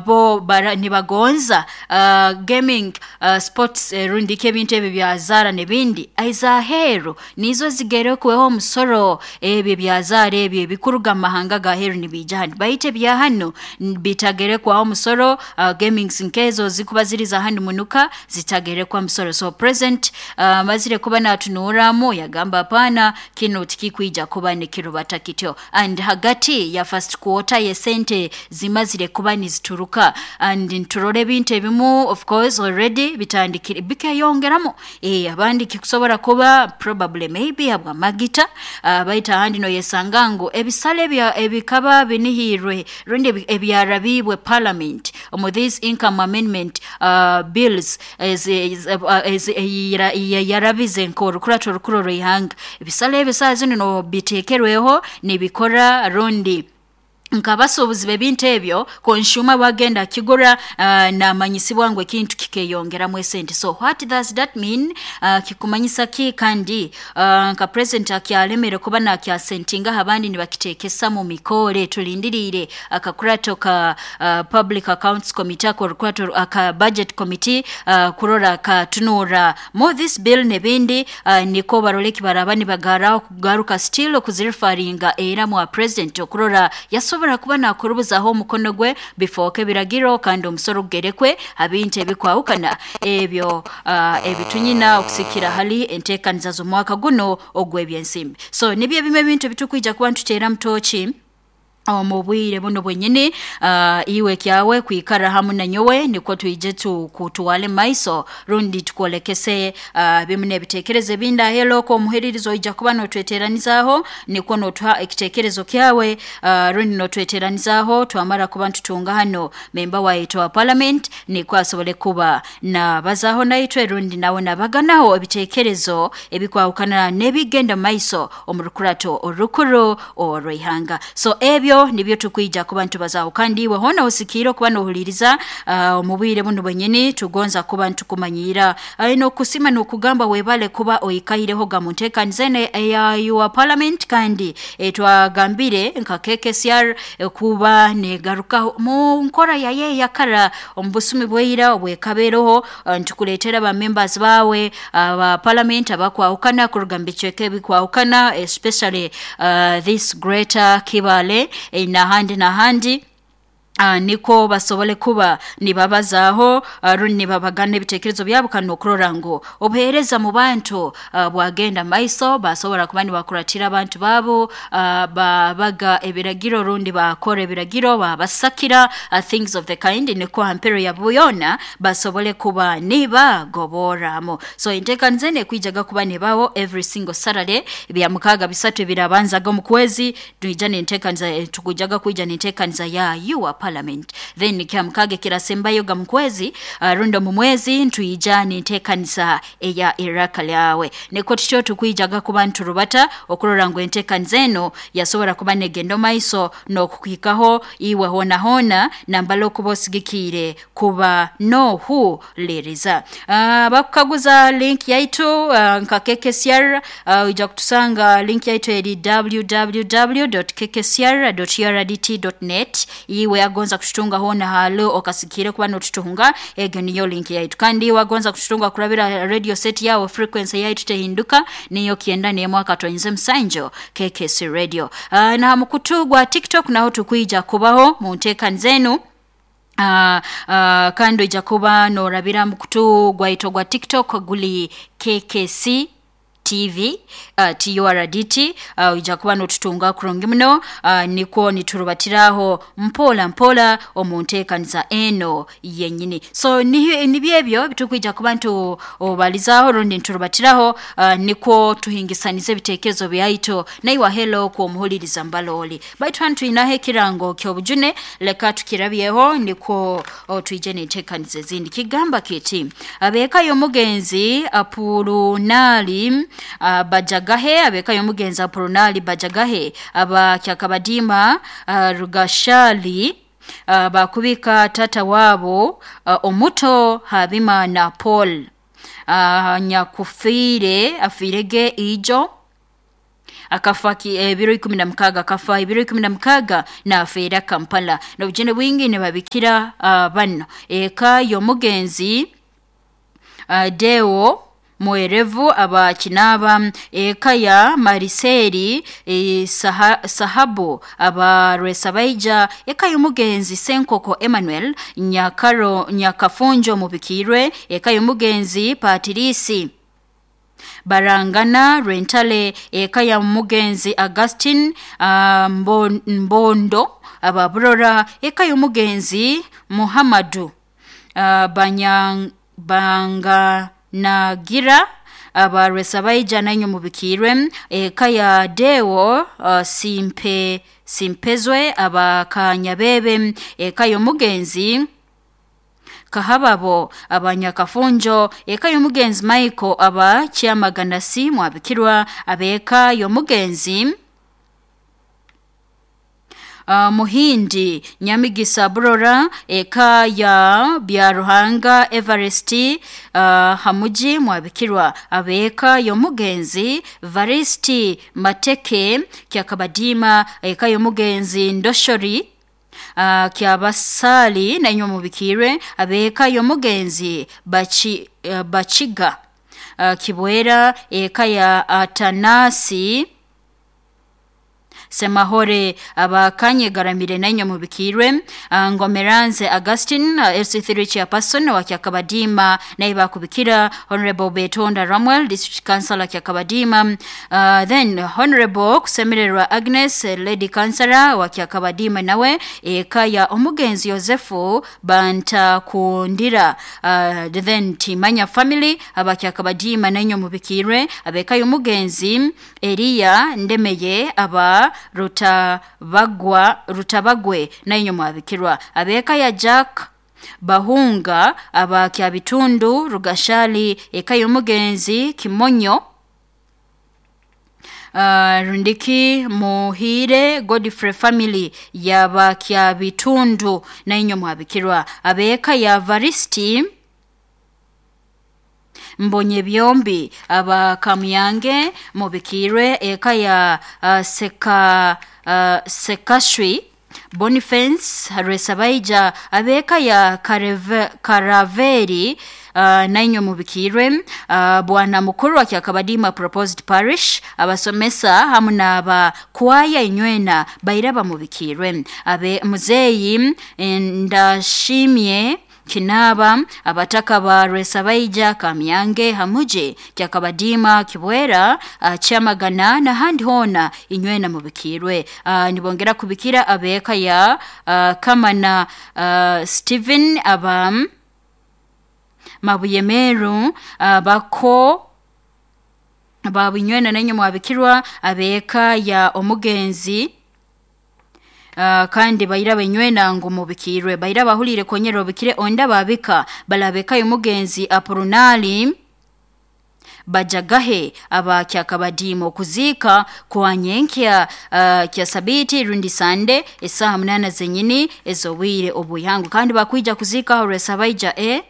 Bo nibagonza gaming, sports, rundi ki ebintu ebi byazaara n'ebindi ez'aheeru nizo zigerekweho omusoro. Ebi ebyazaara ebi ebikuruga mumahanga g'aheeru nibiija hanu, baitu ebya hanu bitagerekwaho omusoro. Gamings nkezo ezikuba ziri za hanu munuka zitagerekwa musoro. So president amazire kuba natunuuramu yagamba, "Apaana, kinu tikikwija kuba nikirubata kityo." And hagati ya first quarter y'esente zimazire kuba nizituruka, and niturora ebintu ebimu of course already bitandikire bikeyongeramu. Abandi kikusobora kuba probably maybe habw'amagita, baitu ahandi noyesanga ngu ebisale ebikaba binihiirwe rundi ebyarabiibwe parliament omu this income amendment bills yarabize nk'orukurato orukuru orw'ihanga, ebisale ebi saaha zinu no biteekerweho nibikora rundi nk'abasuubuzi b'ebintu ebyo, consumer bwagenda akigura, namanyisibwa ngu ekintu kikeyongeramu esente. So what does that mean? Kikumanyisa ki? Kandi nka president akyalemere kuba nakyasentingaho, abandi nibakiteekesa mu mikoore. Tulindiriire akakurato ka Public Accounts Committee, akorukurato aka Budget Committee, kurora katunuura mo this bill n'ebindi, niko barole eki baraba nibagaraho kugaruka still okuzireferringa era mwa president okurora yasobora kuba nakurubuzaho omukono gwe bifooke ebiragiro kandi omusoro gugerekwe ha bintu ebikwahukana ebyo ebitunyina okusikira hali enteekaniza z'omwaka guno ogw'ebyensimbi. So nibyo ebimu ebintu ebitukwija kuba nituteera mutoki omu bwire buno bwenyini. Iwe kyawe kwikara hamu nanyowe nikwo twije tukutwale maiso rundi tukwolekese bimu n'ebiteekerezo ebindi ahelo oko omuhiririzo oija kuba notweteranizaaho, nikwo notuha ekiteekerezo kyawe, rundi notweteranizaaho twamara kuba nitutunga hano member waitu wa parliament, nikwo asobole kuba nabazaho naitwe rundi nawe nabaganaho ebiteekerezo ebikwahukana n'ebigenda maiso omu rukurato orukuru orw'ihanga. So ebyo nibyo tukwija kuba nitubazaho, kandi iwe hoona osikiire okuba nohuliriza omu bwire buno bwenyini, tugonza kuba nitukumanyiira n'okusima n'okugamba webale kuba oikaireho ga mu nteekaniza eno eya Your Parliament. Kandi twagambire nka KKCR kuba negarukaho mu nkora yayo eyakara omu busumi bwaira obwekabeeroho, nitukuleetera ba members bawe aba parliament abakwahukana kuruga mu bicweka ebikwahukana, especially this Greater Kibaale, n'ahandi n'ahandi, niko basobole kuba nibabazaaho, rundi nibabagana ebiteekerezo byabo, kandi n'okurora ngu obuheereza mu bantu bwagenda maiso, basobora kuba nibakuratira abantu baabo, babaga ebiragiro rundi bakora ebiragiro babasakira, things of the kind, niko hampero ya byona basobole kuba nibagoborramu. So enteekaniza eno ekwijaga kuba nibaho every single Saturday, bya mukaaga bisatu ebirabanzaga omu kwezi, twija n'enteekaniza, tukwijaga kwija n'enteekaniza ya Your Parliament. Then kya mukaaga ekirasembayo ga mu kwezi, rundi omu mwezi, ntwija n'enteekaniza eya Iraka Lyawe. Nikwo tutyo tukwijaga kuba nturubata okurora ngu enteekaniza eno yasobora kuba negenda omaiso n'okukuhikaho iwe hoona hoona nambala okuba osigikiire kuba nohuliriza. Bakukaguza link yaitu nka KKCR, oija kutusanga, link yaitu eri www.kkcr.urdt.net. Iwe agonza kututunga hoona halo okasikiire kuba notutunga, egyo niyo link yaitu. Kandi iwe agonza kututunga kurabira radio set yawe, frequency yaitu tehinduka, niyo 91.7 KKC Radio. Na mukutu gwa TikTok naho tukwija kubaho mu nteekaniza enu. Kandi oija kuba norabira mukutu gwaitu gwa TikTok, guli KKC TV TURDT, oija kuba notutunga kurungi muno, nikwo niturubatiraho mpola mpola omu nteekaniza eno yenyini. So nibyo ebyo bitukwija kuba ntubalizaaho rundi niturubatiraho, nikwo tuhingisaniza ebiteekerezo byaitu naiwe helo kwomuhuliriza mbalooli. Baitu hanu twinaho ekirango ky'obujune, leka tukirabyeho nikwo twije n'enteekaniza ezindi. Kigamba kiti: abeeka y'omugenzi Apulunali Bajagahe, abeeka y'omugenzi Apulunali Bajagahe aba Kyakabadiima, Rugashali, bakubika tata wabo omuto Habimana Paul, nyakufiire afiirege ijo. Akafa ebiro 16, akafa ebiro 16 nafeera Kampala. N'obujune bwingi nibabikira bano eka y'omugenzi Deo Mwerevu aba Kinaba, eka ya Mariseri Sahabu aba Rwesabaija, eka y'omugenzi Senkoko Emmanuel Nyakaro Nyakafunjo mubikirwe, eka y'omugenzi Patirisi Barangana Rwentale, eka ya mugenzi Augustin Mbondo aba Burora, eka y'omugenzi Muhammadu Banganagira aba Rwesabaija nanyo mubikirwe, eka ya Deo Simpezwe aba Kanyabebe, eka y'omugenzi Kahababo abanyakafunjo, eka y'omugenzi Michael aba Kyamaganasi mwabikirwa, abeka y'omugenzi Muhindi Nyamigisa Burora, eka ya Byaruhanga Everest Hamuji mwabikirwa, abeka y'omugenzi Varisti Mateke Kyakabadima, eka y'omugenzi Ndoshori Kyabasali nanyo mubikirwe, abeka y'omugenzi Bachiga Kibwera, eka ya Atanasi Semahore abakanyegaramire nanyo mubikirwe, Ngomeranze Augustin LC3 chairperson wa Kyakabadima naye bakubikira, Honorable Betonda Ramwel district councilor Kyakabadima, then Honorable Kusemererwa Agnes lady councilor wa Kyakabadima nawe, eka ya omugenzi Yosefu Bantakundira, then Timanya family aba Kyakabadima nanyo mubikirwe, abeka y'omugenzi Elia Ndemeye aba Rutabagwe nanyo mwabikirwa, abeka ya Jack Bahunga aba Kyabitundu Rugashali, eka y'omugenzi Kimonyo Rundiki Muhire Godfrey family yaba Kyabitundu nanyo mwabikirwa, abeka ya Varisti Mbonye byombi aba Kamuyange mubikirwe, eka ya Sekashwi Boniface Rwesabaija, abeka ya Karaveri nanyo mubikirwe, bwana mukuru wa Kyakabadima proposed parish abasomesa hamu n'aba kwaya inywena bairaba mubikirwe, abe muzeyi Ndashimye Kinaba abataka ba Rwesabaija Kamyange Hamuje Kyakabadima Kibwera Kyamagana n'ahandi hona inywena mubikirwe. Nibongera kubikira abeka ya Kamana Stephen aba Mabuyemeru bako babinywena nanyo mwabikirwa, abeka ya omugenzi kandi baira benywena ngo mubikirwe, baira bahulire konyera obikire onda babika balabeka y'omugenzi Apurunali Bajagahe aba Kyakabadima okuzika kwa nyenkya kya sabiti rundi sande esaha 8 zenyini ezobwire obuyangu, kandi bakwija kuzika Rwesabaija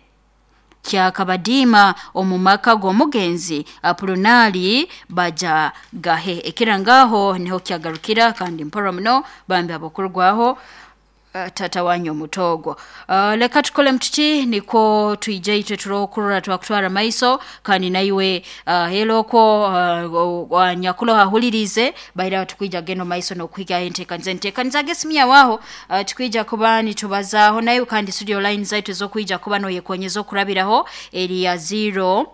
Kyakabadima omumaka g'omugenzi Apurunali Bajagahe. Ekirangaho niho kyagarukira kandi mpora muno bambi abokurwaho tata wanyu omutogo. Leka tukole mtuti niko tuije itwe turokurora twakutwara maiso kandi naiwe heloko nyakulo hahulirize baira tukwija geno maiso nokuhiga enteekaniza enteekaniza gesimya waho tukwija kuba nitubazaho nayo kandi studio line zaitu ezokwija kuba noyekonyeza okurabiraho eri ya 0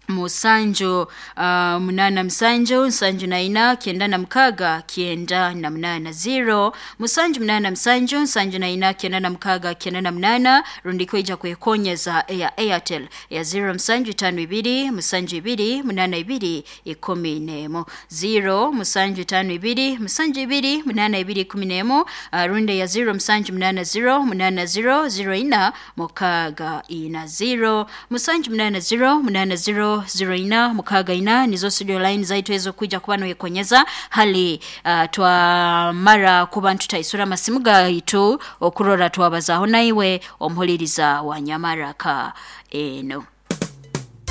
musanju 8 7 7 4 96 98 0 musanju 8 7 7 4 96 98 rundi kwija kwekonyeza ya Airtel ya 0 7 5 2 7 2 8 2 11 0 7 5 2 7 2 8 2 11 rundi ya 0 7 8 0 8 0 0 4 6 4 0 7 8 0 8 0 0 4 6 nizo studio line zaitu ezo kuja kuba noyekonyeza hali twamara kuba ntutaisura masimu gaitu okurora twabazaho naiwe omuhuliriza wa Nyamaraka eno.